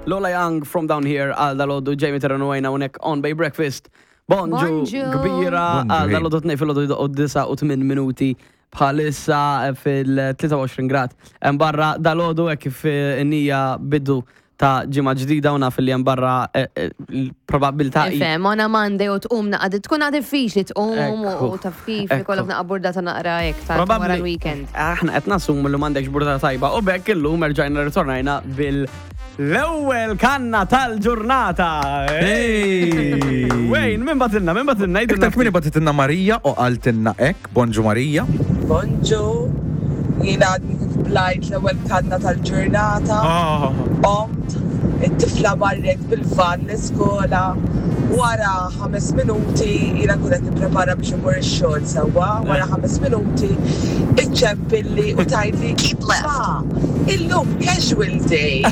Lola Young from down here għal dalodu Jamie Terrano għajna unek on Bay Breakfast. Bonġu Bonġu. kbira Bonġu, għal hey. dalodu tnej fil-ħodu u 9 u 8 minuti bħalissa fil-23 grad. Hemm barra dalodu hekk kif nija bidu ta' ġimgħa ġdida u naf li hemm barra l-probabilità hi- Ifhem, on a Monday u tqum naqa tkun għad diffiċli tqum Ekku. u taf kif Ekku. ikollok naqa burdata naqra hekk ta' wara Probabbli- l-weekend. Aħna qed nassumu li m'għandekx burdata tajba u bekk illum erġajna ritornajna bil l-ewwel kanna tal-ġurnata. Hey! Wayne, min batilna, min batilna, Iktar kmini batitinna Marija u qaltilna hekk, bonġu Marija. Bonġu, jiena għadni kif blajt l-ewwel kanna tal-ġurnata. Qomt, it-tifla marret bil-van l-iskola. Wara 5 minuti, jiena kun qed nipprepara biex imur ix-xogħol sewwa, wara 5 minuti iċċempilli u tgħidli keep left. Ma, illum casual day,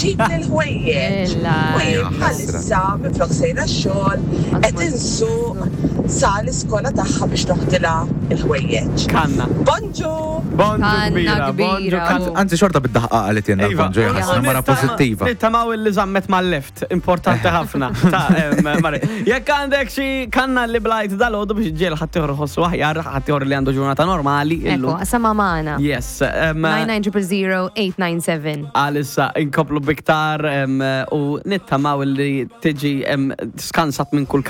ġib l-ħwejjeġ. Illa. U jien bħalissa minflok sejra x-xogħol qed insuq sa l-iskola tagħha biex noħdilha il-ħwejjeġ. Kanna. Bonġu! Bonġu Kanna kbira, bonġu kbira. kanna. Anzi xorta bid-daħqa qalet jenna Iva, bonġu jaħasra mara pozittiva. Nittamaw illi żammet mal-left, importanti ħafna. Ta' Mari. Jekk għandek xi kanna li blajt dal-għodu biex ġiel ħaddieħor ħossu aħjar, ħaddieħor li għandu ġurnata normali. Ekku, illum. sama magħna. Yes. 9900897. Għalissa inkomplu biktar u nittamaw li tiġi skansat minn kull